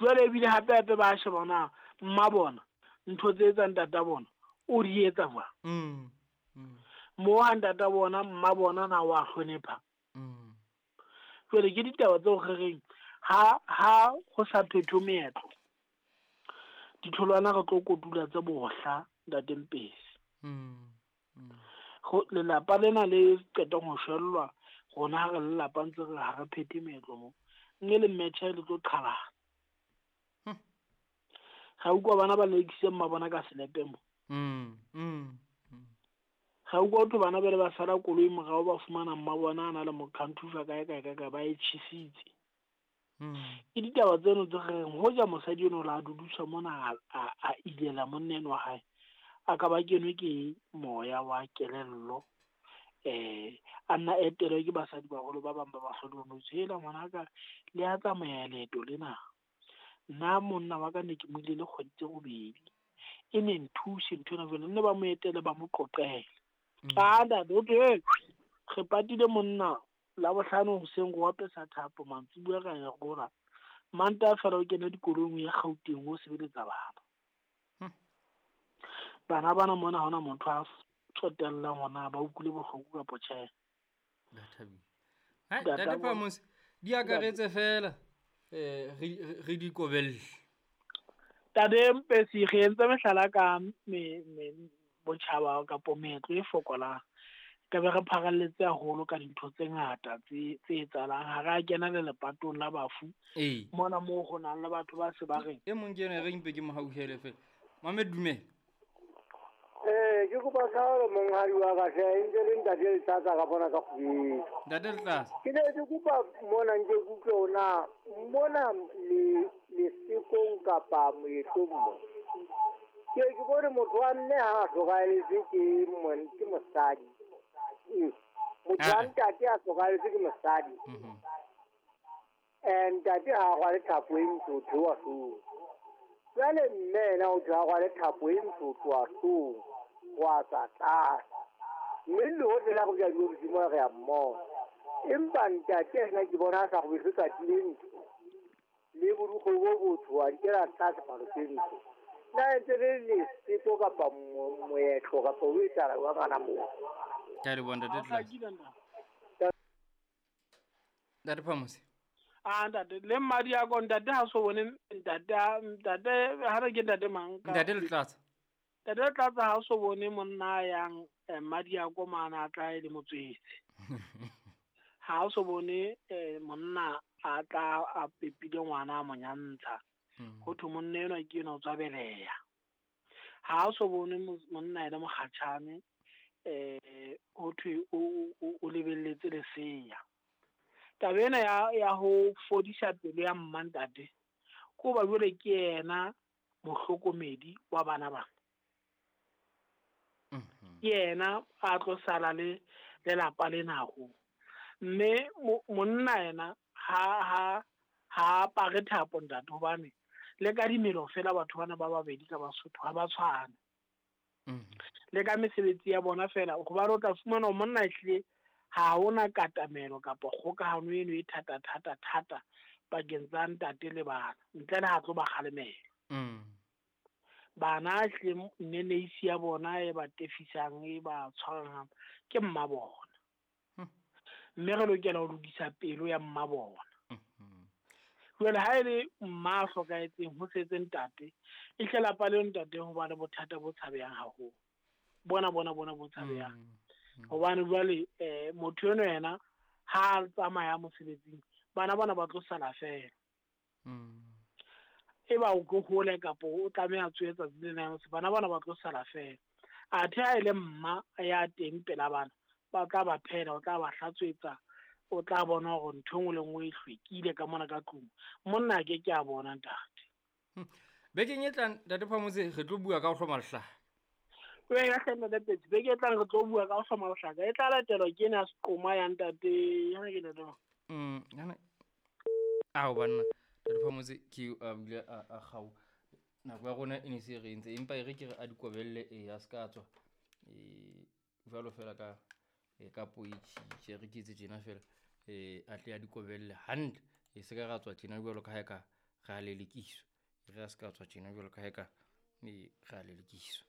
Jwale ebile hape hape ba sheba na mma bona ntho tse etsang tata bona o di etsa jwang. Mo ha ntata bona mma bona na wa hlonepha. Jwale ke ditaba tseo re reng ha ha ho sa phethwe meetlo, ditholwana re tlo kotula tse bohla ntate Mpesi. Lelapa lena le qetang ho shwellwa, rona ha re lelapa ntse re ha re phethe meetlo mo, mme le mmetjhe le tlo qhalana. Ga utlwa bana ba lelekisitse mma bona ka selepe mo. Ga utlwa ho thwe bana ba ile ba sala koloi morao, ba fumana mma bona a na le mokhanthufa kae kae kae kae, ba e tjhesitse. Ke ditaba tseno tse re reng hoja mosadi eno la dudiswa mona a ilela monna eno wa hae, a ka ba kenwe ke moya wa kelello, a nna etelwe ke basadi baholo ba bang ba ba hlokometse. Hela ngwanaka, le a tsamaya leeto lena. Nna monna wa ka ne ke mo ile le kgwedi tse robedi, e ne nthuse ntho ena jwale, nne ba mo etele ba mo qoqele. A ntate, ho thwe, re patile monna Labohlano hoseng, re apesa thapo, mantsibuya ra ya rola. Mantaha fela o kena dikolong o ya Gauteng o sebeletsa bana. Bana bana mona ha hona motho a tsotellang hore ba utlwile bohloko kapa tjhe. Ntate Phamose, di akaretse fela re di kobelle. Ntate Mpesi, re entse mehlala ka botjhaba kapo meetlo e fokolang. Ka be re pharalletse haholo ka dintho tse ngata tse etsahalang. Ha re a kena le lepatong la bafu. Mona moo ho nang le batho ba se ba reng. E mong ke ena re mpe ke mo hauhele fela. Mamed, dumela. Ke kopa tshwarelo monghadi wa ka hle, e ntse le ntate Letlatsa ka bona ka kgwedi. Ntate Letlatsa. Ke ne ke kopa mona nke ke utlwe hore na mona le lesekong kapa moetlong mo. Ke bone motho wa mme ha a hlokahelletswe ke mosadi. Motho wa ntate a hlokahelletswe ke mosadi. Ntate ha a rwale thapo e ntsho, ho theoha hloohong. Jwale mme yena o tla rwale thapo e ntsho ho tloha hloohong ho a tswa tlase. Mme le hohle la go ja diofising re a mmona. Empa ntate yena ke bona a sa robetse tsatsi le ntsho. Le borukgwe bo botsho a nkela tlase palo tse ntsho. Na ntse le leseko kapa moetlo kapa ho etsahala jwang hana moo? Ke a leboha ntate Tlatsa. Ntate Phamose. Ah, ntate, le mmadi ya ko ntate ha so bone ntate, ntate ha re ke ntate mang ka? Ntate Letlatsa. Ntate Letlatsa ha so bone monna yang mmadi ya ko mana a tla e le motswetse. Ha so bone monna a tla a pepile ngwana a mo nyantsha. Ho thwe monna enwa ke enwa o tswa beleha. Ha so bone monna ena mokgatjhane, ho thwe o lebelletse lesea. Taba ena ya ho fodisa pelo ya mma ntate, ko ba jwale ke yena mohlokomedi wa bana bana. Ke yena a tlo sala le lelapa lena haholo. Mme monna yena ha apare thapo ntate, hobane le ka dimelo fela batho bana ba babedi ka Basotho ha ba tshwane. Le ka mesebetsi ya bona fela, hobane o tla fumana hore monna ehlile ha hona katamelo kapa kgokahano eno e thata thata thata pakeng tsa ntate le bana, ntle le ha tlo ba kgalemela. Bana hle neneisi ya bona e ba tefisang, e ba tshwarang ke mma bona. Mme re lokela ho lokisa pelo ya mma bona. Jwale ha e le mma a hlokahetseng ho setse ntate, e hle lapa leo ntate ho ba le bothata bo tshabehang haholo. Bona bona bona bo tshabehang. Hobane jwale motho eno yena ha a tsamaya mosebetsing, bana bona ba tlo sala fela. Eba o tlo hole kapa o tlameha tsohe tsatsi le leng, bana bona ba tlo sala fela. Athe ha e le mma ya teng pela bana, ba tla ba phela, o tla ba hlatswetsa, o tla bona hore ntho e nngwe le nngwe e hlwekile ka mona ka tlung. Monna a ke ke a bona ntate. Bekeng e tlang ntate Phamose re tlo bua ka ho hloma lehlaka. Wena hle ntate Petsi, beke e tlang re tlo bua ka ho hloma lehlaka. E tla latelwa ke ena seqoma ya ntate, ya ke ntate mang? Ao banna, ntate Phamose ke a bile a kgau. Nako ya rona e ne se re entse, empa e re ke re a dikobelle e a ska tswa. Jwalo fela ka ka poitjhe re ke etse tjena fela, a tle a dikobelle hantle. E se ka ra tswa tjena jwalo ka ha e ka Re a lelekiswa. Re a se ka tswa tjena jwalo ka ha eka re a lelekiswa.